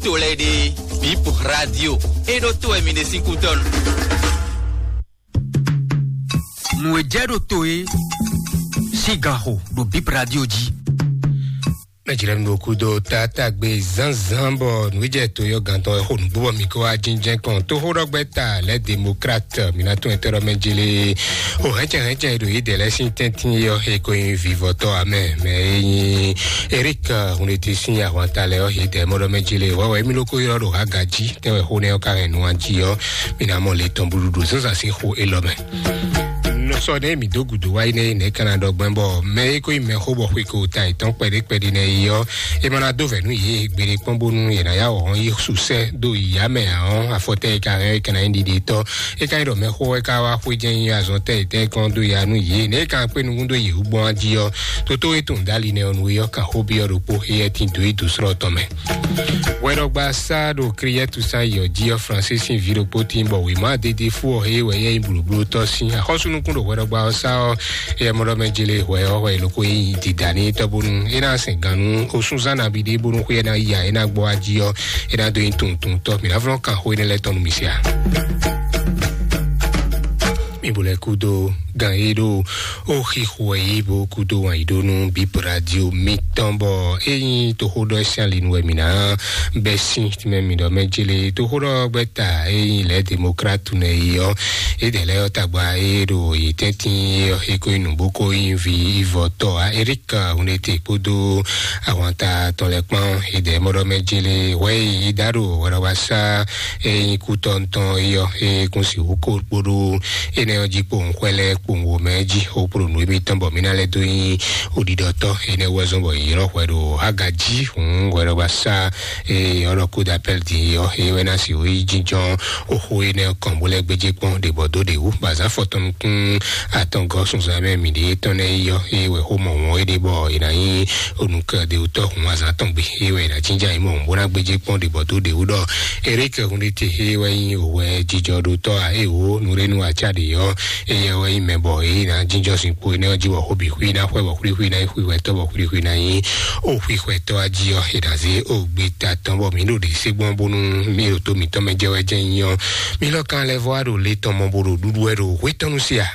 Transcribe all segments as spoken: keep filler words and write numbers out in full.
to lɛ́ɛ ɖe, Bip Radio, é ɖó to wɛ mi ɖe sín kútɔ́ nu. Nǔ e jɛ ɖo to é sín gan xo ɖo Bip Radio jí. Mɛ jlɛ́ mi ɖo kúdó tátágbe zánzán bɔ nǔjɛ to yɔ gantɔ xo nǔgbó bɔ mi kó wá jínjɛ́n kɔn tóxóɖɔgbɛ́ta lɛ́ démocrate mina tún ɛtɛ́ ɖɔ mɛ jele o hɛntsɛ hɛntsɛ ɖo yí dɛ lɛ́ sín tɛ́ntin yɔ e ko nyi vivɔtɔ amɛ mɛ e nyi Eric Hunlete sín ahwanta lɛ ɔ yí dɛ mɔ ɖɔ mɛ jele wɛwɛ mi ló kó ylɔ́ ɖo haga jí tɛ́ wɛ xó nɛ́ ɔ́ ka hɛn nú an jí ɔ́ mi ná mɔ le tɔn búɖuɖu zánzán sín xó élɔ́ mɛ. Nɔ sɔ ɖe mi dó gǔdo wá yi nɛ nɛ kana ɖɔ gbɛn bɔ mɛ e ko yi mɛ xó bɔ xwe ko ta etɔn kpɛɖe kpɛɖe nɛ yi ɔ e ma na dó vɛ nú yě gbeɖe kpɔn bónú yě na ya wɔhɔn yi susɛ dó ya mɛ ahɔn afɔtɛ e ka hɛn e kana yi ɖiɖi tɔ e ka yi ɖɔ mɛ xó e ka wá xwé jɛ yi azɔn tɛ etɛ kɔn dó ya nú yě ne e ka kpé nukún dó yě wú gbɔn jí ɔ toto e tun dali nɛ ɔ nu e ɔ ka xó bi ɔ ɖokpó e yɛ tin dó yi dó srɔ tɔn mɛ. Hwɛɖɔgba sá ɖo Kriyɛtu sá yɔ jí ɔ́ Francis sín ví ɖokpó tín bɔ wěma dédé fú ɔ́ é wɛ yɛ nyí blǒblótɔ́ sín axɔ́súnukún ɖo hwɛɖɔgba ɔ́ sá ɔ́ é mɔ ɖɔ mɛ jele hwɛ ɔ́ hwɛ e nɔ ko nyí dida ní tɔ́ bónú é ná sɛn gannú osúnzán nabí ɖé bónú xwé ɛ ná yi a é ná gbɔ wá jí ɔ́ é ná dó nyí tuntuntɔ́ mǐ ná flɔ́n kan xó énɛ́ lɛ́ɛ tɔn nú mì sia. Mi bo lɛ kúdó gan e ɖo ó xixo ɛ yí bó kúdó wǎn yí ɖó nú Bip Radio mitɔn bɔ é nyí toxóɖɔ sín ali nu wɛ mǐ ná bɛ́ sín tínmɛ mǐ ɖɔ mɛ jele toxóɖɔ gbɛ́ta é nyí lɛ̌ demokratu nɛ yi ɔ́ é dɛ lɛ́ ɔ́ tagba é ɖo yě tɛ́ntin é ɔ́ é ko nyí nǔ bó ko nyí vi ivɔtɔ a Eric Hunlete kpódó ahwanta tɔn lɛ́ɛ kpán é dɛ mɔ ɖɔ mɛ jele hwɛ yi dá ɖo hwɛɖɔwasá é nyí kútɔ́ ntɔn é ɔ́ é kún sixú kó kpóɖó énɛ́ ɔ́ jí kpowun xwɛ lɛ́ɛ kpowun wǒ mɛ jí xó kpló nǔ émítɔn bɔ mǐ ná lɛ́ dó nyí oɖiɖɔtɔ́ énɛ́ wú wɛ zɔ́n bɔ yě ylɔ́ hwɛ ɖo aga jí hǔn hwɛɖɔwasá eye ɔ́ ɖɔ coup d'appel din ɔ́ é wɛ ná si wǒ yi jínjɔ́n oxó énɛ́ kɔn bó lɛ́ gbéjé kpɔ́n ɖě bɔ dó ɖě wú bɔ azǎn fɔtɔn nukún atɔngɔ́ sunzan mɛ mǐ ɖě tɔn nɛ́ yi ɔ́ é wɛ xó mɔ wɔn é ɖe bɔ è nǎ nyí onukɛ ɖě wú tɔ́ hǔn azǎn tɔn gbe é wɛ è nǎ jínjɔ́n ayǐ mɔ bó ná gbéjé kpɔ́n ɖě bɔ dó ɖě wú ɖɔ Eric Hunlete é wɛ nyí òwɛ jijɔɖótɔ́ a é wǒ nǔɖénú acá ɖě ɔ́ éyɛ́ wɛ nyí mɛ bɔ èyí ná jínjɔ́ zinkpo énɛ́ ɔ́ jí wɔ xó bǐ xwí ná xwɛ bɔ xwíxwí ná nyí xwixwɛtɔ́ bɔ xwíxwí ná nyí ó xwixwɛtɔ́ ɔ́ jí ɔ́ è nǎ zé ó gbé ta tɔn bɔ mǐ ɖo ɖě sé gbɔn bónú mí ɖo tó mǐtɔn mɛ jɛ wɛ jɛ nyí ɔ́ mí lɔ́ kan lɛ́ vɔ wá ɖo le tɔn mɔ bó ɖo ɖuɖu wɛ ɖo hwé tɔn nu sí a.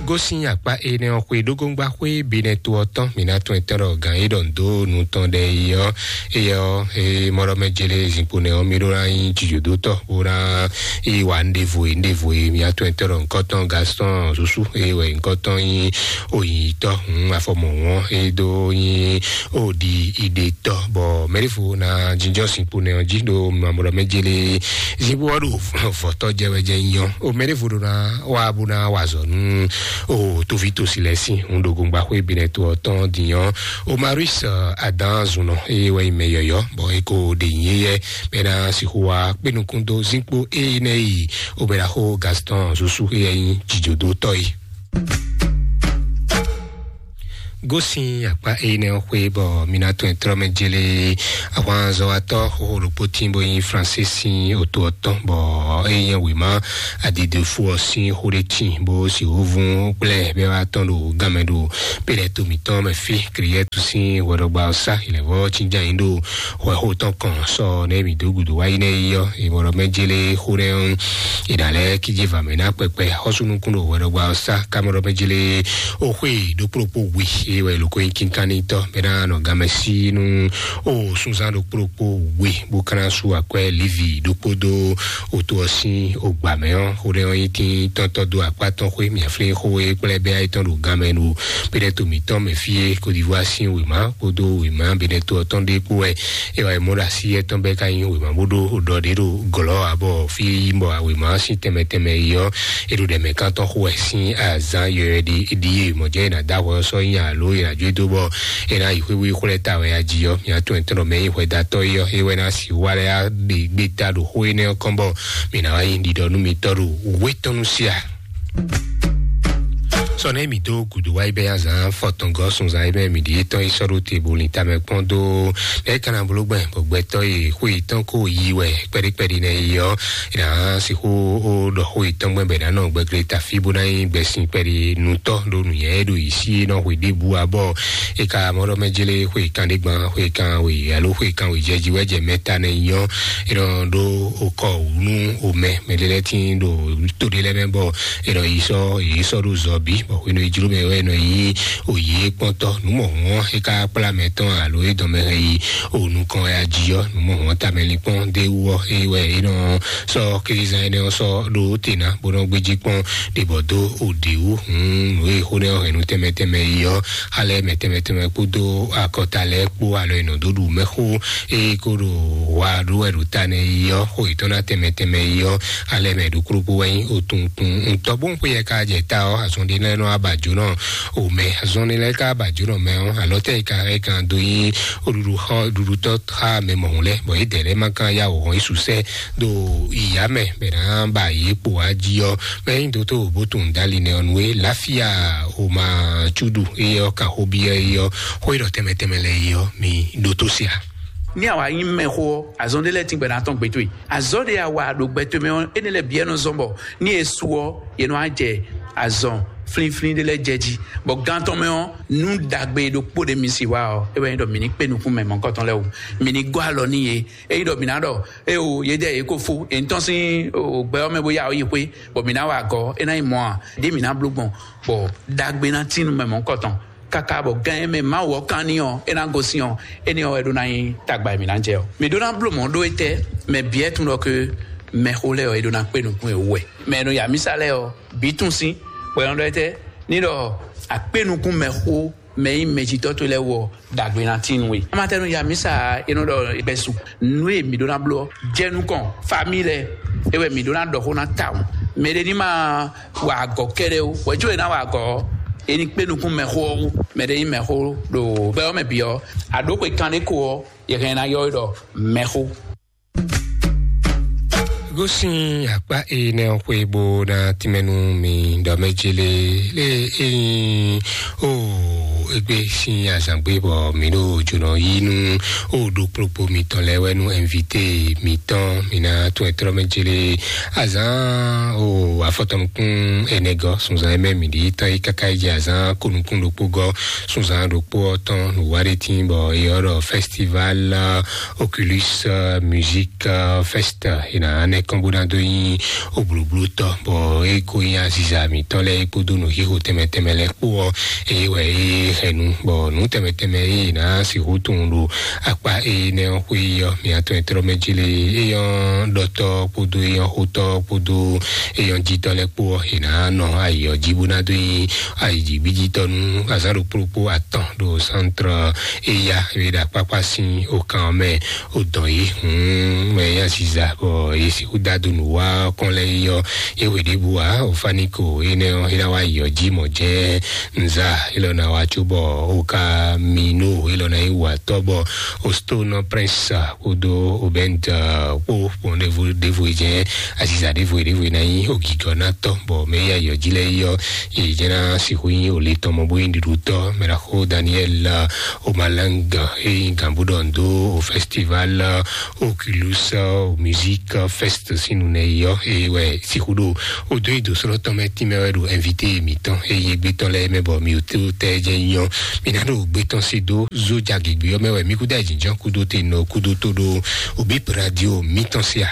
Gosín akpá énɛ́ ɔ́ xwé ɖógóngbá xwé binɛ to ɔ́ tɔn mǐ ná tún ɛtɛ́ ɖɔ gǎn é ɖɔ nǔ dó nu tɔn ɖɛ yi ɔ́ éyɛ́ ɔ́ é mɔ ɖɔ mɛ jele zinkpo nɛ ɔ́ mí ɖó ná nyí jǐjǒdótɔ́ bó ná yi wa nɖevo e nɖevo e mia tɔn e tɔn ɖɔ nkɔtɔn Gaston Susu e wɛ nkɔtɔn nyi oyitɔ hun afɔmɔwɔn e do nyi odi idetɔ bɔ mɛɖevo na jinjɔ sinkpo nɛ ɔn ji ɖo mamɔɖɔ mɛ jele zibo ɔɖo vɔtɔ jɛ wɛ jɛ nyɔ o mɛɖevo ɖo na wa bo na wa zɔ nu o tovi tosi lɛ si hun ɖo gongba xwe binɛ to ɔtɔn dinyɔ o Marius adan zunɔ e wɛ mɛ yɔyɔ bɔ e ko ɖe nyi yɛ bɛ na sixu wa kpé nukún dó zinkpo éyí nɛ yi obɛɖaxó Gaston Susu éyɛ nyí jìjòdótɔ́ yi. Gósin akpá éyí nɛ xwé bɔ mina tɔn trɔmɛ jele ahwanzɔwatɔ xoxo ɖokpó tín bó nyí Francis sín oto ɔtɔn bɔ éyí nyɛ wěma adidefo ɔ sín xó ɖé tín bó si wovun gblɛ bɛ wá tɔn ɖo gamɛ ɖo pélɛ to mǐtɔn mɛ fí Kriyɛtu sín hwɛɖɔgba ɔ́ sá ilẹ̀vɔ cínján yín ɖo hwɛxó tɔn kɔn sɔ nɛ mǐ dó gǔdo wá yi nɛ yi ɔ́, è mɔ ɖɔ mɛ jele xó nɛ ɔ́, è nǎ lɛ́ kíjé va mɛ ná kpɛkpɛ xɔ́sú nukún ɖo hwɛɖɔgba ɔ́ sá ká mɔ ɖɔ mɛ jele ó xwé ɖokpó ɖokpó we é wɛ è lǒ ko nyí kínkánní tɔ́ mɛ ná nɔ gamɛ sí nú ó súnzán ɖokpó ɖokpó we bó ká ná sú akwɛ́ Livi ɖokpó dó oto ɔ́ sín ogbǎ mɛ ɔ́, xó nɛ ɔ́ nyí tín tɔ́ntɔ́ dó akpá tɔn xwé mǐaflín xó e kplɛ́ bɛ́ ayé tɔn ɖo gamɛ ɖo Pɛ́nɛ́ to mǐtɔn mɛ fí e Côte d'Ivoire sín wěma kpódó wěma Benɛto ɔ́ tɔn ɖé kpó wɛ é wá yi mɔ ɖo así étɔn bɛ́ ka nyí wěma bó ɖó ɖɔ ɖě ɖo gɔ̌lɔ́ ǎ bɔ fí e yí bɔ wěma sín tɛnmɛ tɛnmɛ yi ɔ́, é ɖo ɖɛ̌mɛ kántɔn xo wɛ sín azǎn yɔyɔ ɖi ɖi e mɔ̌ jɛ è nǎ dó ahwɛ ɔ́ sɔ́ nyi alo è nǎ jó e dó bɔ è nǎ yi xwé wí xwlɛ́ ta wɛ a jí ɔ́, mǐ atɔn ɛtɔn mɛ nyí hwɛdatɔ́ yi ɔ́, é wɛ ná sixú wá lɛ́ ɖe gbéta ɖo xó énɛ́ ɔ́ kɔn bɔ mǐ ná wá nyí ɖiɖɔ nú mitɔ́ ɖo wětɔn nú sí a. Sɔ nɛ mi dó gǔdo wá ibɛ azán fɔtɔngɔ sunzan ibɛ mi ɖi tɔn yi sɔɖo te bo lin tamɛ kpɔn dó. Nɛ kana bolo gbɛ bɔ gbɛtɔ yi xwe tɔn ko yi wɛ kpɛɖi kpɛɖi nɛ yi ɔ. Ina sixu o ɖɔ xwe tɔn gbɛ bɛ nanɔ gbɛgble tafi bo na yi gbɛsin kpɛɖi nutɔ ɖo nuyɛ ɖo yi si nɔ xwe ɖe bu abɔ. E ka mɔ ɖɔ mɛ jele xwe kan ɖe gban xwe kan we alo xwe kan we jɛ ji wɛ jɛ mɛ ta nɛ yi ɔ. Ina ɖo okɔ nu omɛ mɛ ɖe lɛ tin ɖo to ɖe lɛ mɛ bɔ ina yi sɔ yi sɔ ɖo zɔ bi bɔ xwenu yi jlo mɛ wɛ nɔ yi oyi kpɔntɔ numɔ hɔn e ka kpla mɛ tɔn alo e dɔn mɛ hɛn yi o nukɔn ya ji ɔ numɔ hɔn tamɛ li kpɔn de wɔ e wɛ e nɔ sɔ krizan ene ɔ sɔ ɖo te na bo nɔ gbedzi kpɔn ɖe bɔ do o de wu hun nu e xo ne ɔ hɛn nu tɛmɛ tɛmɛ yi ɔ alɛ mɛ tɛmɛ tɛmɛ kpodo akɔta lɛ kpo alɔ e nɔ do ɖu mɛ xo e ko ɖo wa ɖo wɛ ɖo ta nɛ yi ɔ xo yetɔn na tɛmɛ tɛmɛ yi ɔ alɛ mɛ ɖo kplokpo wɛ nyi o tuntun ntɔ bo n xwe yɛ ka jɛ ta ɔ azɔn ɖe lɛ nɔ aba jo nɔ o mɛ azɔn ɖe lɛ ka aba jo nɔ mɛ ɔ alɔ tɛ yi ka ɛ kan do nyi o ɖuɖu xɔ ɖuɖu tɔ xa mɛ mɔhun lɛ bɔ yi dɛ lɛ ma kan ya o hɔn yi susɛ do iya mɛ bɛ na ba yi kpo wa ji ɔ mɛ nyi do to bo tun dali nɛ ɔ nue lafia o ma tsudu eyɔ kan xo bi eyɔ xo yi ɖɔ tɛmɛ tɛmɛ lɛ eyɔ mi ɖo to sia. Ní àwa nyí mɛxó ɔ́, azɔn ɖé lɛ́ɛ tíngbɛ ná tɔn gbɛtɔ́ e. Azɔn ɖé a wa ɖo gbɛtɔ́ mɛ ɔ́, énɛ́ lɛ́ɛ bǐ ɛ nɔ zɔn bɔ ní e su ɔ́, yě nɔ wá jɛ azɔn flínflín ɖé lɛ́ɛ jɛ jí. Bɔ gán tɔn mɛ ɔ́, nú ɖagbe ɖokpó ɖé mi sì wá ɔ́, é wɛ nyí ɖɔ mǐ ní kpé nukún mɛ mɔ̌kɔtɔn lɛ́ɛ wú. Mǐ ní gɔ́ alɔ n'i yě. Ényí ɖɔ mǐ ná ɖɔ, éewo, yě jɛ yě ko fó, è nǐ tɔ́n sín o, gbɛ ɔ́ mɛ bó yá ɔ yi xwé, bɔ mǐ ná wa agɔ̌, é ná nyí mɔ̌ ǎ. Ɖěe mǐ ná bló gbɔn, bɔ ɖagbe ná tín nú mɛ mɔ̌kɔtɔn. Káká bɔ gán e mɛ Mawu ɔ́ kán n'i ɔ́, é ná gosín ɔ́, énɛ́ ɔ́ wɛ ɖó ná nyí tagba e mǐ ná jɛ ɔ́. Mǐ ɖó ná bló mɔ̌ ɖó étɛ́? Mɛ bǐ wɛ tunwun ɖɔ ke mɛxó lɛ́ɛ ɔ́, é ɖó ná kpé nukún e wú wɛ. Mɛ e nɔ ya mísa lɛ́ɛ ɔ́, bǐ tunwun sín, bɔ è nɔ ɖɔ étɛ́? Ní ɖɔ akpé nukún mɛxó mɛ nyí mɛjitɔ́ towe lɛ́ɛ wú ɔ́, ɖagbe ná tín nú we. Amatɛnu ya mísa e nɔ ɖɔ gbɛsu nú e mǐ ɖó ná bló ɔ́, jɛ nukɔn famille lɛ́ɛ, é wɛ mǐ ɖó ná ɖɔ xó ná tawun. Mɛ ɖé ní ma wa agɔ̌ kɛ́ɖɛ́ ó, hwɛ̌ có è nǎ wa agɔ̌ ɔ́, è ní kpé nukún mɛxó ɔ́ wú. Mɛ ɖé nyí mɛxó ɖo gbɛ ɔ́ mɛ bǐ ɔ́, aɖǒ xwe kanɖé ko ɔ́, yɛ hɛn ná ylɔ́ we ɖɔ mɛxó. Gosín akpá énɛ́ ɔ́ xwé bó ná tínmɛ nú mi ɖɔ mɛ jélé lé ényí o égbé sín azǎngbé bɔ mǐ ɖo jǒnɔ yí nú o ɖo kplokpo mitɔn lɛ́ɛ wɛ nú ɛnvité mitɔn mi ná tún ɛtrɔ́ mɛ jélé azǎn o afɔtɔnukún ɛnɛgɔ́ sunzan ɛmɛ mǐ ɖi tɔn yi káká yi jɛ azǎn konukún ɖokpó gɔ́ sunzan ɖokpó ɔ́ tɔn nǔwa ɖé tín bɔ yɔ́ ɖɔ festival Oculus Music Fest ina anɛ kɔn bó ná dó nyi obloblo tɔ bɔ e ko nyi aziza mǐtɔn lɛ kpódó nǔ xixo tɛmɛ tɛmɛ lɛ kpó ɔ eye wɛ e hɛnu bɔ nǔ tɛmɛ tɛmɛ e ná sixú tunwun ɖo akpa e nɛ ɔ xwé ɔ mǐatɔn e trɔ mɛ jí le eyɔn ɖɔtɔ kpódó eyɔn xótɔ kpódó eyɔn jítɔ lɛ kpó ɔ e ná nɔ ayi ɔ jí bó ná dó nyi ayi jí gbíjítɔ nú azán ɖokpó ɖokpó atɔn ɖo centre eya e ɖo akpákpá sín okan ɔ́ mɛ o dɔn yi hun mɛ ya ziza bɔ ye sixú dado nǔ wa kɔn lɛ yi ɔ ye wɛ ɖěbǔ wa o fani ko enɛ ɔ e ná wa yi ɔ jí mɔ jɛ nza elɔ na wa tso bɔ o ka mi no elɔ na yi wa tɔ bɔ o stone prince kódó o bɛnt kpó kpɔn ɖevo ɖevo yi jɛ aziza ɖevo ɖevo yi na yi o gigɔ na tɔ bɔ mɛ ya yi ɔ jí lɛ yi ɔ ye jɛ na sixú yi o le tɔmɔ bó yi ɖuɖu tɔ mɛ na xo daniel o malanga e yi gan bó ɖɔ ndo o festival Oculus Music Fest sín nunɛ yi ɔ eye wɛ sixú ɖo o dó yi dó sɔlɔ tɔn mɛ tínmɛ wɛ ɖo invité mǐtɔn eye gbétɔn lɛ mɛ bɔ mi ò tó tɛ jɛ nyɔ mi ná ɖo gbétɔn si dó zó ja gěgbé ɔ mɛ wɛ mi kúdó ayǐjínjɔ́n kúdó te nɔ kúdó tó ɖó òbí radio mítɔn sia.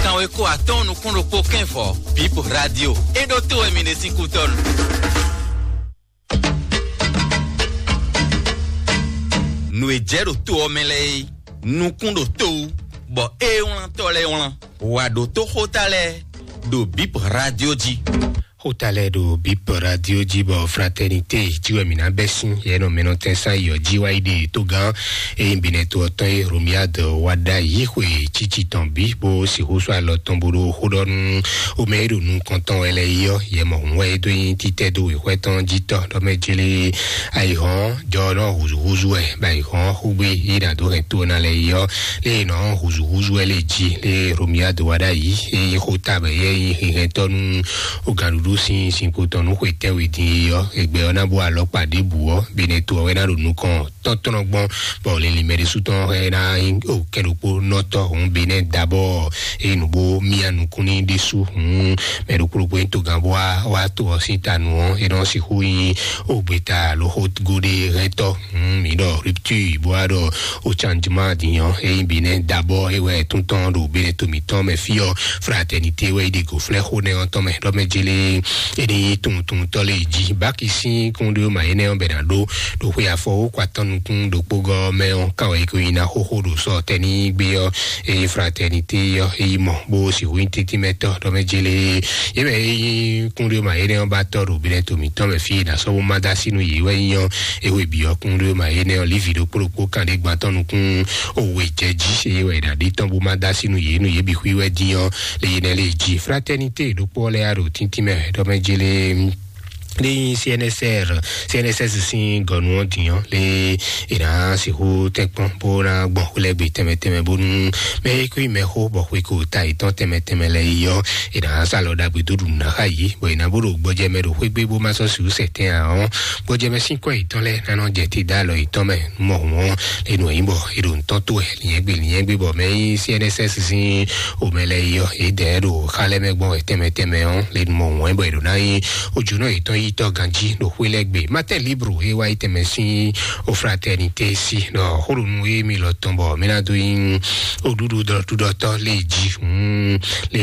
Kanwe ko atɔn nukún ɖokpó kɛnfɔ bip radio e ɖo to wɛ mi ɖe sín kútɔnu. Nu e jɛ ɖo to ɔ mɛ lɛ e nukún ɖo to wú bɔ e wlantɔ lɛ wlan wa ɖo toxota lɛ ɖo bip radio jí. Xota lɛ́ɛ ɖo Bip Radio jí bɔ Fraternité jí wɛ mǐ ná bɛ́ sín yɛ nɔ mɛnɔtɛn sán yɔ jí wá yi ɖe togán eyín binɛ to ɔtɔn e Romiad wá ɖa yí xwe tsitsi tɔn bí bó sixú sɔ́ alɔ tɔn bó ɖo xó ɖɔ nú omɛ e ɖo nukɔn tɔn wɛ lɛ́ɛ yi ɔ́, yɛ mɔ hǔn wɛ é dó nyi títɛ́ dó wěxwɛ́ tɔn jí tɔ́ ɖɔ mɛ jélé ayihɔn jɔ nɔ húzúhúzú wɛ bɔ ayihɔn xúgbé yi ɖa dó hɛn to ná lɛ́ɛ yi ɔ́, lé nɔ húzúhúzú wɛ lé jí lé Romiad wá ɖa yí eyín xota bɛ yɛ yí hɛn tɔ́ nú o gǎnɖuɖu sín zinkpo tɔn nú xwe tɛ́nwe dín é ɔ́, egbɛ ɔ́ ná bú alɔkpa ɖěbǔ ɔ́, Benɛto ɔ́ wɛ ná ɖo nukɔn tɔ́ntɔ́nɔgbɔn, bɔ linlin mɛɖésú tɔn hɛn ná nyí o kɛɖokpónɔtɔ́ hǔn Benɛ́ dabɔ eye nǔgbó mía nukún ní ɖésú hǔn mɛ ɖokpó ɖokpó nyí togán bó wá wá to ɔ́ sín ta nu ɔ́, é nɔ sixú nyí o gbeta alo xó gó ɖé hɛntɔ́ hǔn mǐ ɖɔ rupture bó wá ɖɔ o changement din ɔ́, eye Benɛ́ dabɔ é wɛ tún tɔn ɖo Benɛ́ to mǐtɔn mɛ fí ɔ́, Fraternité wɛ yi ɖe go flɛ́ xó nɛ ɔ́ tɔn mɛ ɖɔ mɛ jélé é ní nyí tunwuntunwuntɔ́ lé jí. Báki sín kúnɖó ma énɛ́ ɔ́ bɛ ná ɖó ɖo xwe afɔ wó kɔ atɔn nukún ɖokpó gɔ́ mɛ ɔ́, kan wɛ é ko nyi ná xóxó ɖo sɔ tɛ́ ní gbé ɔ́, eye Fraternité ɔ́ é yi mɔ bó sixú nyí tíntín mɛ tɔ́ ɖɔ mɛ jélé. Yě mɛ é nyí kúnɖó ma énɛ́ ɔ́ ba tɔ́ ɖo Benɛ́to mǐtɔn mɛ fí é ná sɔ́ bó má dó así nú yě wɛ nyí ɔ́, é hwe bǐ ɔ́ kúnɖó ma énɛ́ ɔ́ lívi ɖokpó ɖokpó kan ɖé gban tɔn nukún òwe jɛ jí, eye wɛ è nǎ ɖe tɔn bó má dó así nú yě nú yě bǐ xwí wɛ dín ɔ́, le yénɛ́ lé jí. Fraternité ɖokpó ɔ́ lɛ́ ɖo tíntín mɛ ɖɔ mɛ jélé. Ní C N S R, C N S S sín gɔnu ɔ́ din ɔ́, lé è nǎ sixú tɛ́nkpɔ́n bó ná gbɔn xwlɛ́gbe tɛnmɛ tɛnmɛ bónú mɛ e kú mɛ xó bɔ xwe ko ta yětɔn tɛnmɛ tɛnmɛ lɛ́ɛ yi ɔ́, è nǎ sa lɔ ɖagbe dó ɖu nǔ ná xá yě, bɔ è nǎ bó ɖo gbɔjɛ mɛ ɖo xwé gbé bó má sɔ́ sixú sɛ tɛn ǎ ɔ́, gbɔjɛ mɛ sín kɔ́ yětɔn lɛ́ɛ ná nɔ jɛ te dó alɔ yětɔn mɛ. Mɔ hǔn ɔ́, é nɔ nyí bɔ è ɖo nǔtɔn tó wɛ, lǐnyɛ́gbe lǐnyɛ́gbe bɔ mɛ nyí C N S S sín omɛ lɛ́ɛ yi ɔ́, yě dɛ ɖo xá lɛ́ɛ mɛ gbɔn wɛ tɛnmɛ tɛnmɛ ɔ́, lě mɔ hǔn ɛ bɔ è ɖo ná nyí ojúnɔ yětɔn yi tɔ́ ganjí ɖo xwé lɛ́ɛ gbe. Matin Libre e wá yi tɛnmɛ sín o Fraternité sí ɖɔ xóɖonu e mi lɔ tɔn bɔ mí ná dó nyí oɖúɖú ɖɔtúɖɔtɔ́ lé jí hǔn lé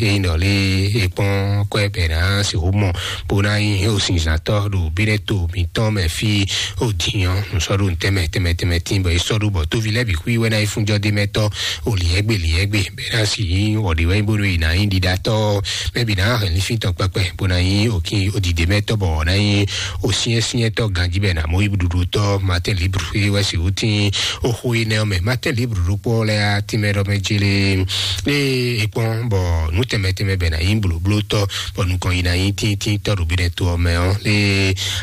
e nyí ɖɔ lé e kpɔ́n kɔ́ ɛ bɛ ná sixú mɔ bó ná nyí osinzantɔ́ ɖo Benɛ́to mǐtɔn mɛ fí o din ɔ́, un sɔ́ ɖo tɛnmɛ tɛnmɛ tɛnmɛ tín bɔ é sɔ́ ɖó bɔ tóvi lɛ́ɛ bǐ xwí wɛ ná yi fúnjɔ́ dé mɛ tɔ́ o lǐnyɛ́gbe lǐnyɛ́gbe bɛ ná sì nyí wɔ̌ɖi wɛ nyí bónú è nǎ nyí ɖiɖatɔ́ mɛ bǐ ná hɛn lífín tɔn kpɛkpɛ bó ná nyí òkín òdìdè mɛ tɔ́ bɔ ná nyí òsyɛ́nsyɛ́ntɔ́ ganjí bɛ ná mɔ yí ɖuɖu tɔ́ Matin Libre é wɛ sì wú tín oxó énɛ́ ɔ́ mɛ. Matin Libre ɖokpó lɛ́ɛ á tínmɛ ɖɔ mɛ jélé ée é kpɔ́n bɔ nǔ tɛnmɛ tɛnmɛ bɛ ná nyí blǒblótɔ́ bɔ nukɔn yi ná nyí tíntín tɔ́ ɖo Benɛ́to ɔ́ mɛ ɔ́ lé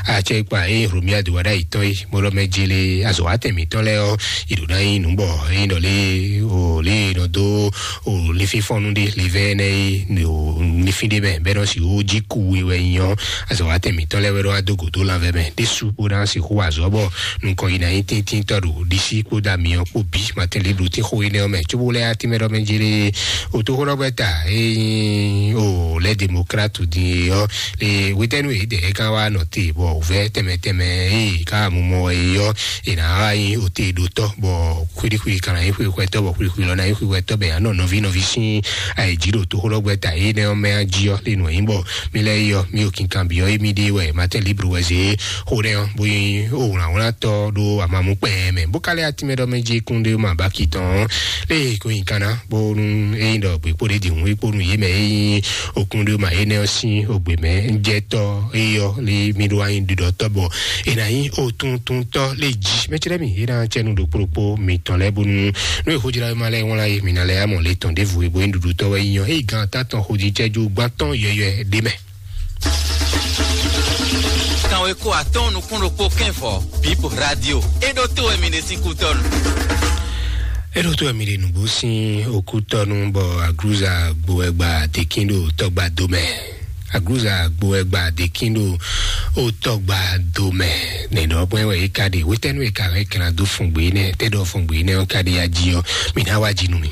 acɛkpa é Romiad wá ɖ'ayǐ tɔn é bó ɖɔ mɛ jélé azɔ̌ wá tɛn mǐtɔn lɛ́ɛ ɔ́, è ɖǒ ná nyí nǔ bɔ é nyí ɖɔ lé o lé e nɔ dó o linfínfɔ́nú ɖé linvɛ́ énɛ́ é o linfín ɖé mɛ bɔ é nɔ sixú jí kú we wɛ nyí ɔ́, azɔ̌ wá tɛn mǐtɔn lɛ́ɛ wɛ ɖɔ wá dó gǒdó lanvɛ mɛ ɖésú bó ná sixú wa azɔ̌ bɔ nukɔn yi ná nyí tíntín tɔ́ ɖo ɖisí kpódó amyɔ kpó bǐ. Matin Libre tín xó énɛ́ ɔ́ mɛ cóbó lɛ́ á tínmɛ ɖɔ mɛ jélé o tó xó ɖɔ gbɛ ta é nyí o lɛ́ démocrate din é ɔ́ le wetɛnu e dɛ kan wa nɔ te bɔ vɛ tɛmɛ tɛmɛ e ka mu mɔ e yɔ e na wa yi o te ɖo tɔ bɔ kuɖikuɖi kan na yi xwe xwɛtɔ bɔ kuɖikuɖi lɔ na yi xwe xwɛtɔ bɛ anɔ nɔvi nɔvi sin ayi dzi ɖo toxo lɔ gbɛ ta e nɛ ɔmɛ aji ɔ le nɔ yi bɔ mi lɛ yɔ mi o kinkan bi ɔ emi de wɛ Matin Libre wɛ ze xo nɛ ɔ bo yi o wlan wlan tɔ ɖo amamu kpɛ mɛ bo ka lɛ atimɛ dɔ mɛ dzi kun de ma ba ki tɔn le ko yi kana bonu eyi dɔ gbe kpo de di hun kpo nu yi mɛ eyi okun de ma enɛ ɔ sin ogbe mɛ jɛ tɔ eyi ɔ le mi do anyi didɔ tɔ bɔ ena yi o tun tun tɔ le dzi mɛ tsi lɛ mi ena tsɛ nu do kpokpo mi tɔn lɛ bonu nu eho dzra ma lɛ wɔn la yi mi na lɛ amɔ le tɔn de vu ebo yin dudu tɔ wɛ yi yɔ eyi gan ta tɔn ho dzi tsɛ ju gban tɔn yɔyɔ de mɛ. Kanwe ko atɔn nukun ɖokpo kɛnfɔ Bip Radio. Eɖo to wɛ mi ɖe sín kutɔnu. Eɖo to wɛ mi ɖe nugbo sín okutɔnu bɔ agruza gbo ɛgba dekin ɖo tɔgba domɛ. Agruza gbo ɛgba dekin ɖo o tɔgba domɛ. Nɛnɛ ɔgbɛn wɛ yi ka ɖe wetɛnu yi ka hɛn kɛnɛ do fungbe nɛ tɛ ɖɔ fungbe nɛ ɔ ka ɖe ya ji ɔ mi na wa ji nu mi.